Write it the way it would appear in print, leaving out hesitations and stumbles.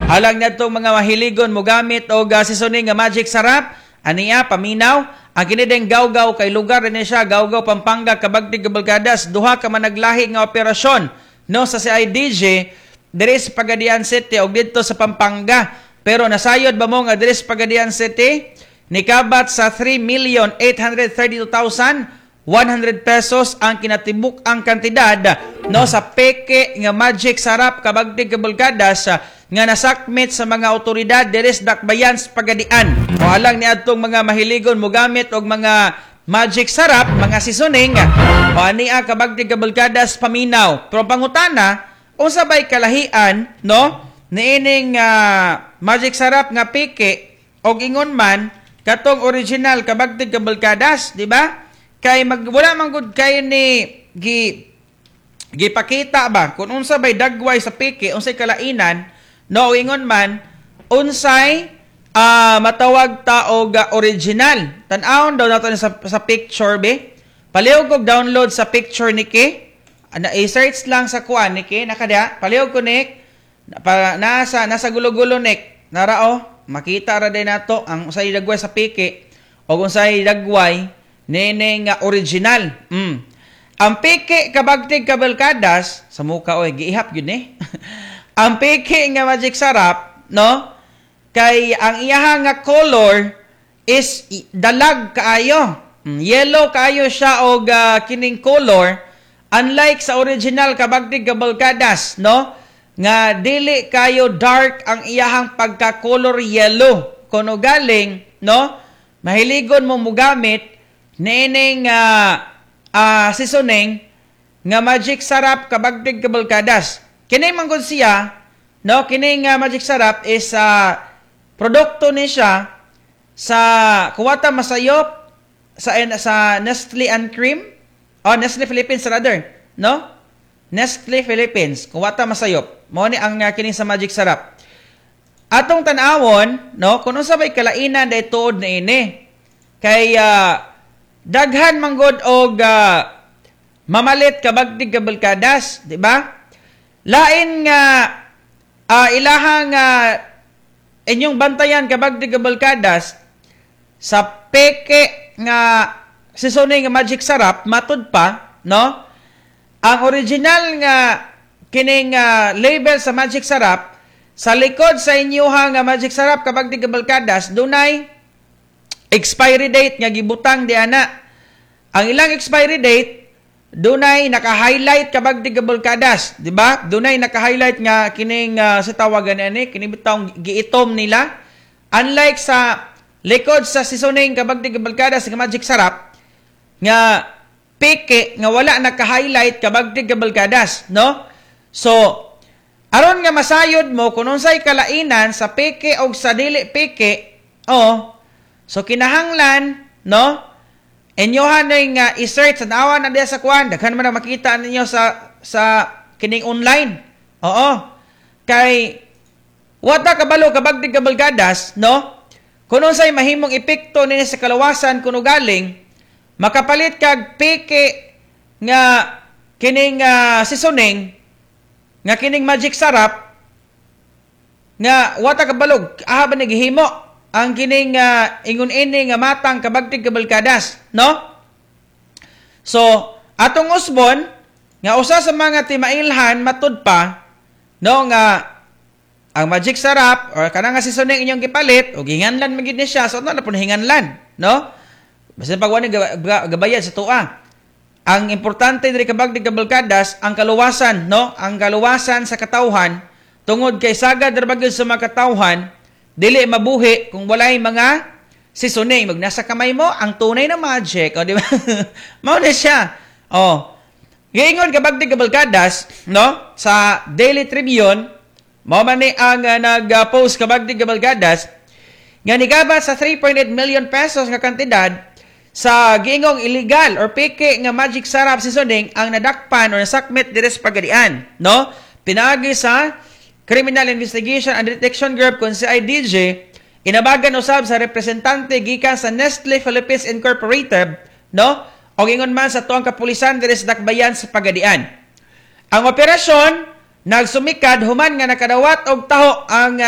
Alang natong mga mahiligon mogamit og seasoning nga Magic Sarap, ania paminaw, ang kini ding Gawgaw kay lugar ni siya, Gawgaw, Pampanga, kabagtig kabalkadas. Duha ka managlahi nga operasyon, no, sa CIDG diri sa Pagadian City og didto sa Pampanga. Pero nasayod ba mo nga diri sa Pagadian City nikabat sa 3,832,100 pesos ang kinatibuk ang kantidad, no, sa peke nga Magic Sarap, kabagtig kabalkadas, nga nasakmit sa mga otoridad diri sa Dakbayan sa Pagadian? O alang ni adtong mga mahiligon mogamit og mga Magic Sarap, mga seasoning, o ania, kabagtig kabalkadas, paminaw. Pero pangutana, unsa bay kalahian, no, niining Magic Sarap nga peke og ingon man katong original, kabagtig kabalkadas, di ba? Kay mag wala man gud kay ni gipakita ba kung unsa bay dagway sa peke, unsay kalainan, no, ingon man unsay matawag ta og original. Tan-awon daw nato sa picture be. Palihog og download sa picture niki. Ana, i-search lang sa kuan niki nakada. Palihog ko nik pa, nasa gulo-gulo nik. Nara oh, makita ra din nato ang unsay dagway sa peke o unsay dagway nene nga original. Ang peke, kabagtig kabalkadas, sa muka oy, giihap gyud ni. Ang peke nga Magic Sarap, no? Kay ang iyaha nga color is dalag kaayo. Yellow kaayo siya og kining color, unlike sa original, kabagtig kabalkadas, no? Nga dili kayo dark ang iyahang pagka-color yellow. Kuno galing, no? Mahiligon mo mugamit niining seasoning nga Magic Sarap, kabagtig kabalkadas. Kini man gud siya, no, kining Magic Sarap is produkto ni siya sa kuwata masayop sa Nestle and Cream oh, Nestle Philippines rather, no? Nestle Philippines, kuwata masayop. Mao ni ang kining sa Magic Sarap. Atong tan-awon, no, kung unsa bay kalainan day tuod na ini. Kay daghan manggod og mamalit, kabagtig kabalkadas, di ba? Lain nga ilahang inyong bantayan, kabagtig kabalkadas, sa peke nga seasoning nga Magic Sarap, matud pa, no? Ang original nga kining label sa Magic Sarap sa likod sa inyuha nga Magic Sarap, kabagtig kabalkadas, dunay expiry date nga gibutang di ana. Ang ilang expiry date dunay naka-highlight, kabagtig kabalkadas, di ba? Dunay naka-highlight nga kining sa tawagan ani kini bitawng giitom nila. Unlike sa likod sa seasoning, kabagtig kabalkadas, nga Magic Sarap nga peke nga wala naka-highlight, kabagtig kabalkadas, no? So aron nga masayod mo kung unsay kalainan sa peke og sa dili peke, oh, so kinahanglan, no, inyohan na nga i-search, tanawa na diya sa kuan, daghan man na makita ninyo sa kining online. Oo. Kay wata kabalo, kabagtig kabalkadas, no? Kung unsay mahimong epekto niya sa kalawasan kuno galing makapalit kag peke nga kining seasoning nga kining Magic Sarap nga wata kabalog aha ba naghihimo ang kining ingon ini nga matang, kabagtig kabalkadas, no? So atong usbon nga usa sa mga timailhan matud pa, no, nga ang Magic Sarap or kanang nga seasoning inyong gipalit o gihinganlan man gid ni siya, so na pud hinganlan, no? Basta pag wala gabayad sa tuwa. Ang importante diri, kabagtig kabalkadas, ang kaluwasan, no, ang kaluwasan sa katawhan, tungod kay sagad ra ba gyud sa mga katawhan dili mabuhi kung walay mga seasoning. Mag nasa kamay mo ang tunay na magic o, di ba? Mao na siya oh. Giingon, kabagtig kabalkadas, no, sa Daily Tribune mao man ni ang nag-post, kabagtig kabalkadas, nga nigabat sa 3.8 million pesos nga kantidad sa giingong illegal or peke nga Magic Sarap seasoning ang nadakpan or nasakmit diri sa Pagadian, no? Pinaagi sa Criminal Investigation and Detection Group kun CIDG, inabagan usab sa representante gikan sa Nestle Philippines Incorporated, no? O ingon man sa tuang kapulisan diri sa Dakbayan sa Pagadian. Ang operasyon nagsumikad human nga nakadawat og taho ang